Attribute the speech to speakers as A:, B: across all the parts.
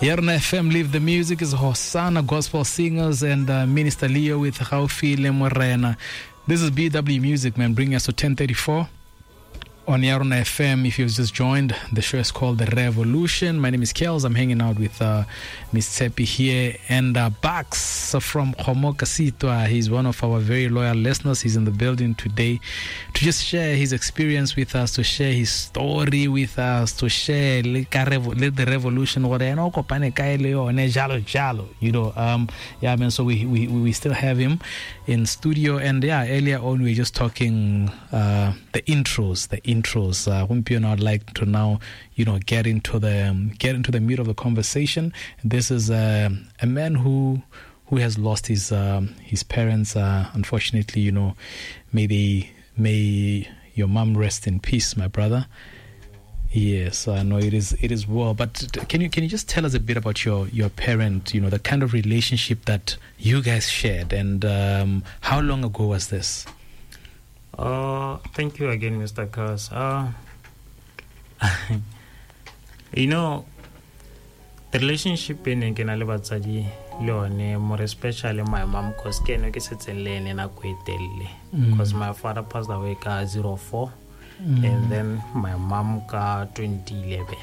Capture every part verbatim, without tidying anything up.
A: Yarona F M, Live the Music is Hosanna Gospel Singers and uh, Minister Leo with Gaufile Morena. This is B W Music, man, bringing us to ten thirty-four on Yarona F M. If you've just joined, the show is called The Revolution. My name is Kels. I'm hanging out with uh, Miss Tsepi here and uh, Bax from Kgomo He's one of our very loyal listeners. He's in the building today to just share his experience with us, to share his story with us, to share the revolution. You know, um, yeah, man. So we, we, we still have him in studio. And yeah, earlier on we were just talking uh, the intros, the intros. Intros. Uh, I'd like to now, you know, get into the um, get into the meat of the conversation. This is uh, a man who who has lost his um, his parents. Uh, unfortunately, you know, may they, may your mom rest in peace, my brother. Yes, I know it is it is well. But can you can you just tell us a bit about your your parent? You know, the kind of relationship that you guys shared, and um, how long ago was this?
B: Uh, thank you again, Mister Kars. Uh, you know, the relationship in ke na le batsadi le yone, more especially my mom, because ke ene ke setseng le ene nako e telele. Because my father passed away ka zero four, mm. and then my mom ka twenty eleven.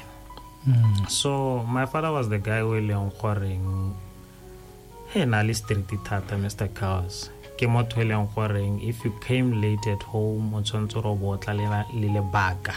B: Mm. So my father was the guy who leng goreng he na le street thata, Mister Kars. Ke motho e leng goreng if you came late at home o tshwanetse go botla le lebaka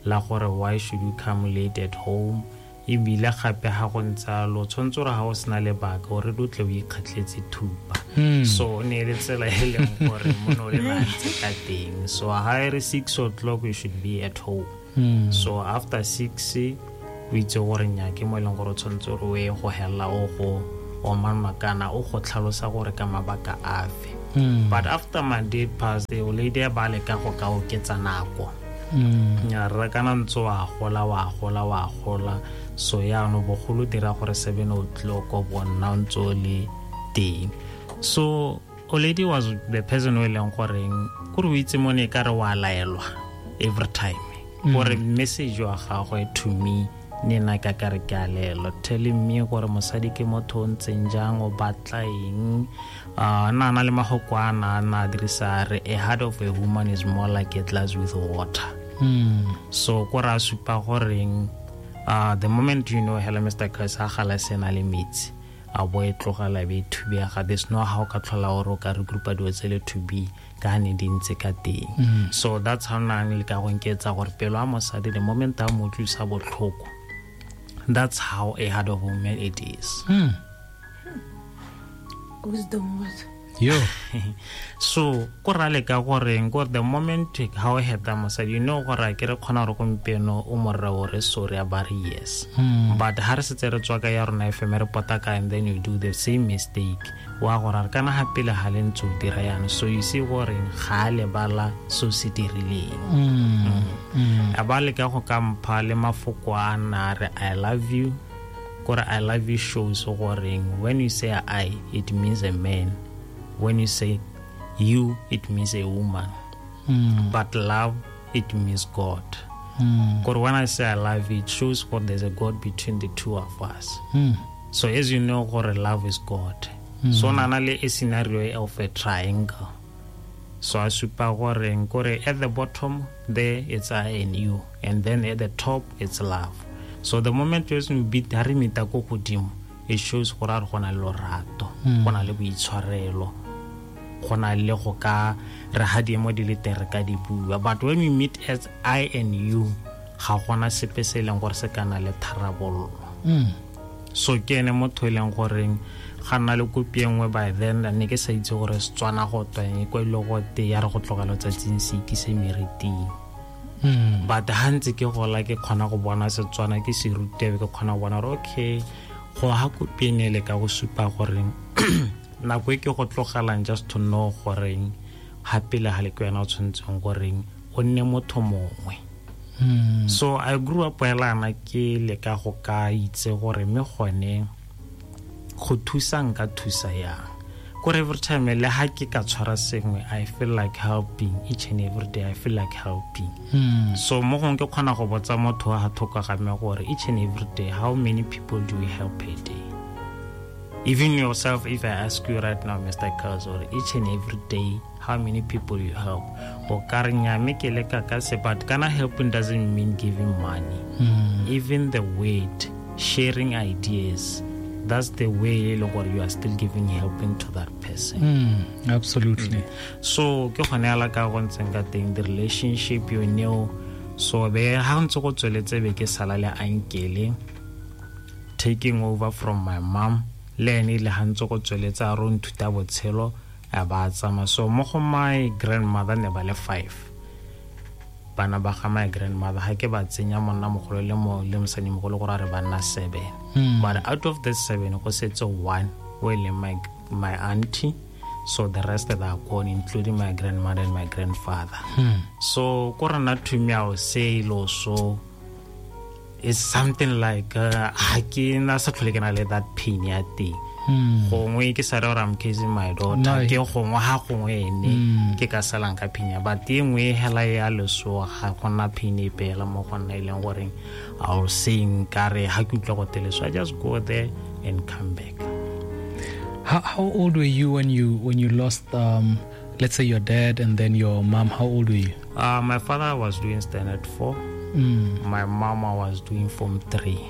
B: la gore why should you come late at home, ebile gape ha go ntse lo tshwanetse gore ha o sena lebaka o re o tle o ikgatletse thupa. So ne le tsela e leng gore mono le ba ntse ka teng. So ha e re six o'clock you should be at home. Mm. So after six o itse gore nya ke mo e leng gore o tshwanetse gore o ye go hella o go o manmakana o go tlhalosa gore ka mabaka afe. Mm. But after my dad passed, the lady ba leka go ka oketsa nako. Mm. Nya re kana ntse wa gola wa gola wa gola. So ya no bogolo dira gore seven o'clock o bona ntse o le teng. So lady was the person o leng goreng gore o itse mo ne ka re wa laelwa every time. Gore message wa gagwe to me ne na ka ka re ke a lelo, telling me gore mosadi ke motho o ntseng jang, o batla eng. Uh, na na le mahoko a na na dirisa re a heart of a woman is more like a glass with water. Mm. So ko ra supa goreng uh, the moment you know hello Mister Chris ha gala sena le metsi a bo e tlogela be thubega, there's no how ka tlhola gore o ka re groupa dilo tse le to be ka ne di ntse ka teng. Mm. So that's how na le ka go nketsa gore pelo a mosadi the moment a mo utlwisa botlhoko, that's how a heart of woman it is.
A: Mm.
C: Wisdom was.
A: Yo.
B: So, ko ra leka goreng gore the moment how I had them mosadi, you know gore ke re khona gore gompieno o morre o re sorry a ba re yes. Mm. But ha re setse re tswa ka ya rona F M re pota ka and then you do the same mistake. Wa gore re kana ha pele ha le ntse o dira yana. So you see gore ga le bala so se dirileng.
A: Mm. Mm.
B: A ba leka go ka mpha le mafoko a na re I love you. Gore I love you shows goreng when you say I, it means a man. When you say you, it means a woman.
A: Mm.
B: But love, it means God.
A: Mm.
B: Because when I say I love you, it shows God there's a God between the two of us.
A: Mm.
B: So as you know, God, love is God. Mm. So na le a scenario of a triangle. So I supa goreng gore at the bottom there it's I and you, and then at the top it's love. So the moment you beat ha re meta ko godimo, it shows gore re gona le lorato, gona le boitshwarelo, gona le go ka re ha diemo di le teng re ka di bua. But when we meet as I and you, ga gona sepe se leng gore se kana le tharabollo. So ke ene motho e leng goreng ga nna le kopi e nngwe by then ne ke sa itse gore Setswana go tweng kwa ile go te ya re go tlogela tsatsing se ikise meriting.
A: Mm.
B: But ha ntse ke gola ke kgona go bona Setswana ke se rutebe, ke kgona go bona gore okay go ha kopi ene le ka go supa gore nako e ke go tlogelang just to know goreng ha pele ha le ke wena o tshwanetseng goreng o nne motho mongwe.
A: Mm.
B: So I grew up elana ke le ka go ka itse gore me gone go thusa nka thusa yang. Kore every time le ha ke ka tshwara sengwe, I feel like helping each and every day. I feel like helping.
A: Mm.
B: So mo gongwe ke kgona go botsa motho wa thoko ga me gore each and every day, how many people do we help a day? Even yourself, if I ask you right now, Mister Kels, or each and every day, how many people you help? O ka re nya me ke leka ka se, but kana helping doesn't mean giving money.
A: Mm.
B: Even the weight, sharing ideas, that's the way you are still giving helping to that person.
A: Mm, absolutely.
B: Mm. So ke gone ala ka go ntseng ka teng, the relationship you know. So be ha ntse go tsweletse be ke sala le ankele taking over from my mom, le ene le ha ntse go tsweletse a ro nthuta botshelo a ba tsamaya. So mo go my grandmother ne ba le five. Bana ba ga my grandmother ha ke ba tsenya monna mogolo le mo le mosadi mogolo gore a re ba nna seven.
A: Mm.
B: But out of the seven go setse one o e leng my my auntie, so the rest that are gone, including my grandmother and my grandfather.
A: Mm.
B: So ko rena to me I will say so it's something like uh, ha ke na sa tlhole ke na le that pain ya teng. Gongwe ke sa re gore I'm kissing my daughter,
A: No.
B: ke gongwe ha gongwe ene
A: Mm.
B: ke ka salang ka pain ya, but e nngwe hela ya leso ga gona pain epe hela mo go nna e leng goreng I will say nkare ha ke utlwa go teleso, I just go there and come back.
A: How, how old were you when you when you lost, um, let's say your dad and then your mom? How old were you?
B: Uh, my father was doing standard four.
A: Mm.
B: My mama was doing form three.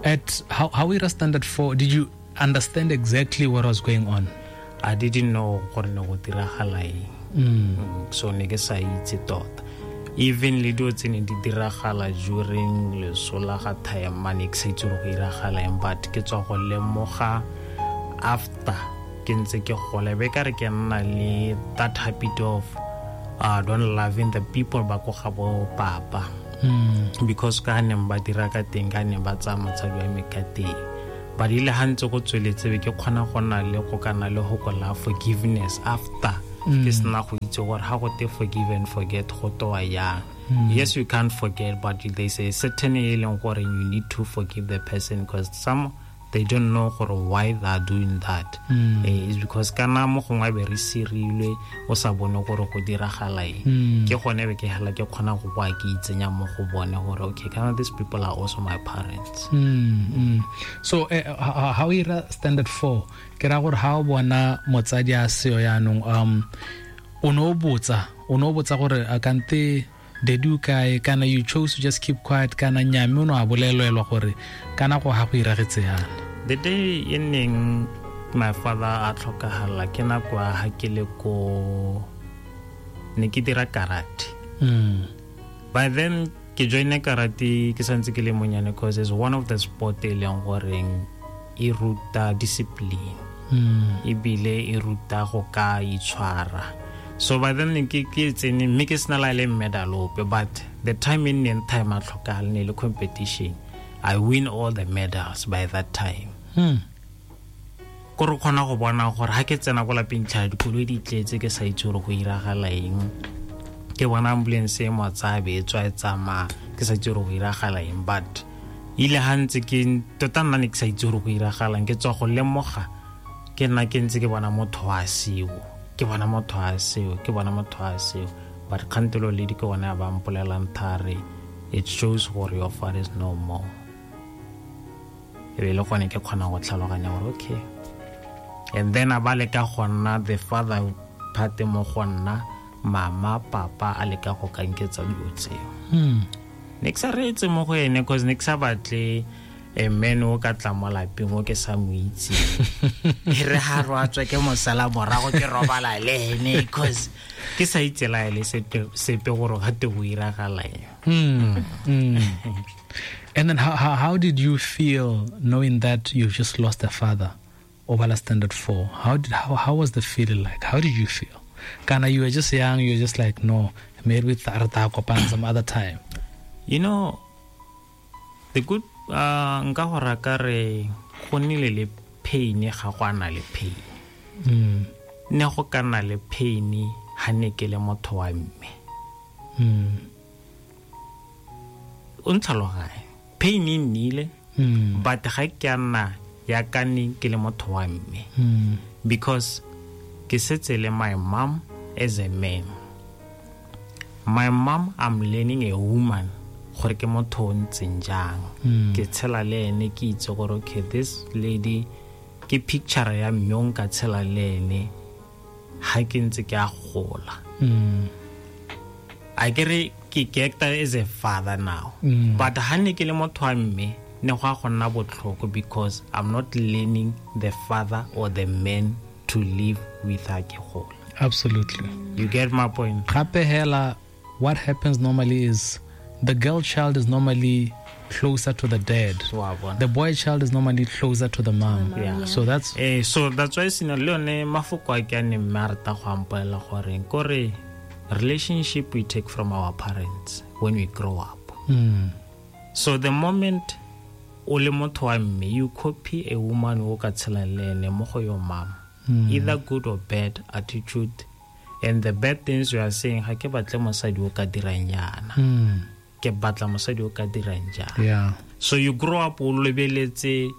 A: At how how we standard four, did you understand exactly what was going on?
B: I didn't know gore ne go diragala eng.
A: Mm.
B: Mm, so ne ke sa itse tota. Even le dilo tse ne di diragala during leso la ga Thaemane, ke sa itse gore go diragala eng, but ke tswa go lemoga after ke ntse ke gola, be ka re ke nna le that habit of uh, don't loving the people ba ko ga bo papa.
A: Mm.
B: Because ka neng ba dira ka teng, ka neng ba tsaya motsadi wa me ka teng. But ile ha ntse go tsweletse be ke kgona go nna le go kana le go kola forgiveness after.
A: Mm.
B: Ke sena go itse gore ha go te forgive and forget go toa yang.
A: Mm.
B: Yes, you can't forget, but there's a certain e leng gore you need to forgive the person, because some they don't know gore why they are doing that.
A: Mm.
B: Eh, it's because kana mo gongwe be re sirilwe o sa bone gore go diragala eng.
A: Mm.
B: Ke gone be ke hela ke kgona go boa ke itsenya mo go bone gore okay, kana these people are also my parents.
A: Mm, mm. So eh, how ira standard four ke ra gore ha o bona motsadi a seo yaanong, um o no botsa o no botsa gore a kante dedu kae, kana you chose to just keep quiet, kana nyame o no a bolelelwa gore kana go ha go iragetse yana?
B: The day e neng my father a tlhokagala ke nako ya ha ke le ko ne ke dira karate.
A: Mm.
B: By then ke joine karate ke santse ke le monyane, because it's one of the sport e leng goreng e ruta discipline.
A: Mm.
B: Ebile e ruta go ka itshwara. So by then ke ke tsene mme ke sena la le medal ope, but the time in neng time a tlhokagala ne le competition, I win all the medals by that time.
A: Hmm.
B: Ko re kgona go bona gore ha ke tsena ko lapeng tlha dikoloi di tletse ke sa itse gore go iragala eng. Ke bona ambulance e mo tsaya be e tswa e tsamaya, ke sa itse gore go iragala eng, but ile ha ntse ke tota nna ne ke sa itse gore go iragalang, ke tswa go lemoga ke nna ke ntse ke bona motho wa seo, ke bona motho wa seo, ke bona motho wa seo, but kgantelo le di ke bona ba mpolelang thare, it shows gore your father is no more. E be le gone ke kgona go tlhaloganya gore okay. And then a ba leka go nna the father part mo go nna, mama papa a leka go kanketsa dilo tseo.
A: Mm.
B: Ne ke sa reetse mo go ene, cause ne ke sa batle a man o ka tla mo lapeng o ke sa mo itse. E re ha ro a tswa ke mosala morago ke robala le ene, cause ke sa itse la ele sepe sepe gore ga te go iragala eng.
A: Mm. Mm. And then how, how how did you feel knowing that you've just lost a father over standard four? How did how how was the feeling like? How did you feel? Kana you were just young, you were just like, no, maybe tha kopana some other time.
B: You know, the good uh nka go raka re go nnile le pain ga go ana le pain.
A: Mm.
B: Ne go ka nna le pain ha ne ke le motho wa mme.
A: Mm.
B: O ntlhaloganye. Pain e nnile,
A: Mm.
B: but ga ke a nna ya ka ne ke le motho wa mme
A: Mm.
B: because ke setse le my mom as a man. My mom, I'm learning a woman gore ke motho o ntseng jang.
A: Mm.
B: Ke tshela le ene, ke itse gore okay, this lady ke picture ya mme o nka tshela le ene ha ke ntse ke a gola.
A: Mm.
B: A ke re ke ke acta as a father now.
A: Mm.
B: But ha ne ke le motho wa mme ne go a go nna botlhoko because I'm not learning the father or the man to live with ha ke gola.
A: Absolutely.
B: You get my point?
A: Gape hela, what happens normally is the girl child is normally closer to the dad.
B: Wa bona.
A: The boy child is normally closer to the mom.
C: mom,
B: Yeah.
A: So that's
B: Eh, so that's why sena le yone mafoko a ke a neng mme a rata go ampolela gore kore relationship we take from our parents when we grow up.
A: mm.
B: So the moment o le motho wa mme, you copy a woman o ka tshelang le ene mo go your mom.
A: Mm.
B: Either good or bad attitude. And the bad things you are saying, ga ke batle mosadi o ka dirang yana.
A: Mm.
B: Ke batla mosadi o ka dirang jang.
A: Yeah.
B: So you grow up o lebeletse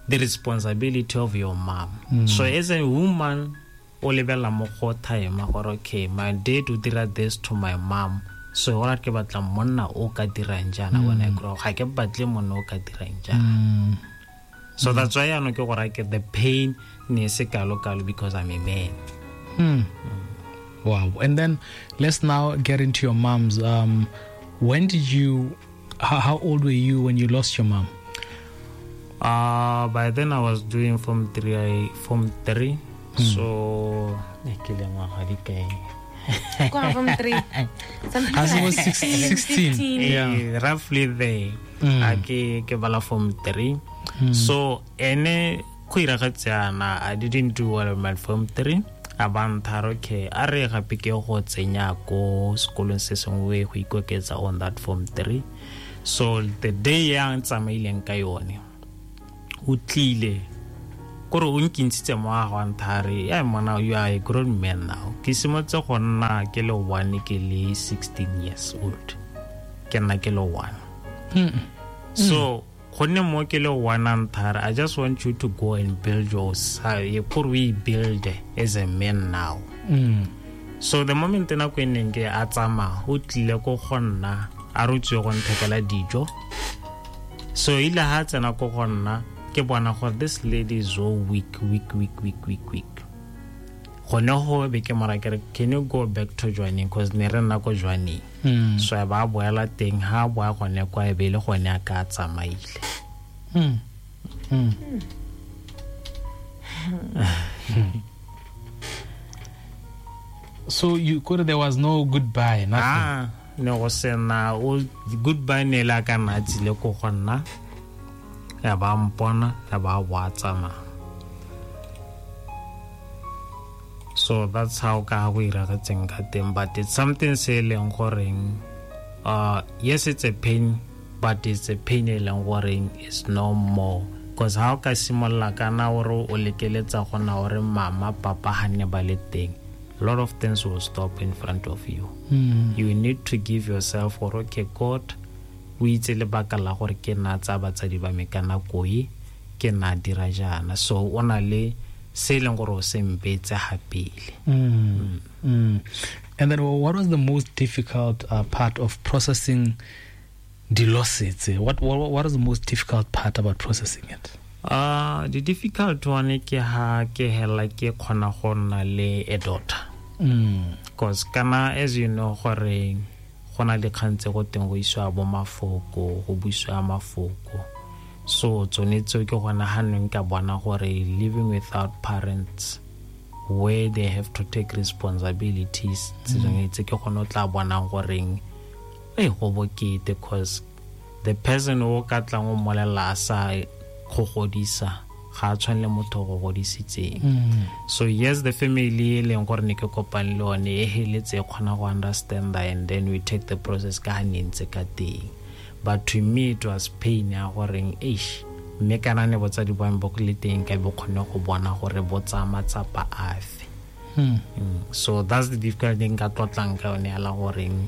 B: the responsibility of your mom.
A: Mm.
B: So as a woman, o lebella mo go time gore okay, my dad o dira this to my mom. So ora ke batla monna o ka dirang jana when I grow up. Ga ke batle monna o ka dirang jana.
A: Mm.
B: So that's why yaanong ke gore ke the pain ne se kalo kalo because I'm a man.
A: Mm. Wow. And then let's now get into your mom's. Um, when did you, how, how old were you when you lost your mom?
B: Uh, by then I was doing form three. I, form three. So, eh, ke le ngwaga di kae?
C: Kwa form three. Something
A: As it
C: like
A: was six, sixteen.
C: fifteen.
A: Yeah.
B: Eh, roughly there.
A: Mm.
B: A ke ke bala form three. So ene go iragetse yana, I didn't do well in my form three. A ba ntharo ke a re gape ke go tsenya ko sekolong se sengwe go ikoketsa on that form three. So the day ya ntsamaileng ka yone, o tlile kore o nkintshitse mo a go nthare ya mona, you are a grown man now. Ke simotse go nna ke le one ke le sixteen years old. Ke nna ke le one.
A: Mm.
B: So gonne mo ke le one nthare, I just want you to go and build your kore we build as a man now.
A: Mm.
B: So the moment nako e neng ke a tsamaya, o tlile ko go nna a re o tswe go nthekela dijo. So ile ha tsena ko go nna ke bona gore this lady is so weak, weak, weak, weak, weak, weak. Gone go be ke mora ke re, can you go back to Jwaneng? Because ne re nna ko Jwaneng.
A: Mm.
B: So a ba boela teng, ha boa gone kwa e be le gone a ka tsamaile.
A: Mm. Mm. So you could, there was no goodbye, nothing.
B: Ah, ne go sena o goodbye ne la ka nna tsile ko go nna. Ya ba mpona, ya ba wa tsamaya. So that's how ka go iragetseng ka teng, but it's something se leng goreng, uh, yes, it's a pain, but it's a pain e leng goreng is no more. Because how ka simolla kana ore o lekeletsa gona ore mama papa ha ne ba le teng, a lot of things will stop in front of you.
A: Mm.
B: You need to give yourself gore okay, God o itse lebaka la gore ke nna tsa batsadi ba me ka nako e, ke nna dira jaana. So o na le se leng gore o se mpetse ha pele.
A: Mm. Mm. And then what was the most difficult uh, part of processing the losses? What, what what was the most difficult part about processing it?
B: Uh, the difficult one ke ha ke hela ke khona go nna le a daughter.
A: Mm.
B: Because kana as you know gore go na le kgang tse go teng go iswa bo mafoko, go buiswa mafoko. So tsone tseo ke gona ha neng ka bona gore living without parents where they have to take responsibilities, tse dingwe tse ke gone o tla bonang goreng e go bokete, cause the person o ka tlang o mmolelela a sa go godisa ga a tshwane le motho o go godisitseng.
A: Mm.
B: So yes, the family e leng gore ne ke kopane le yone e heletse e kgona go understand and then we take the process ka ha ne ntse ka teng. But to me it was pain ya goreng eish, mme kana ne botsadi ba me bo le teng ka bo kgone go bona gore bo tsaya matsapa afe.
A: Mm.
B: Mm. So that's the difficult thing ka tlotlang ka yone ya la goreng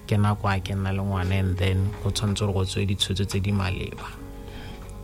B: ke nako a ke nna le ngwana and then go tshwanetse gore go tswe ditshwetso tse di maleba.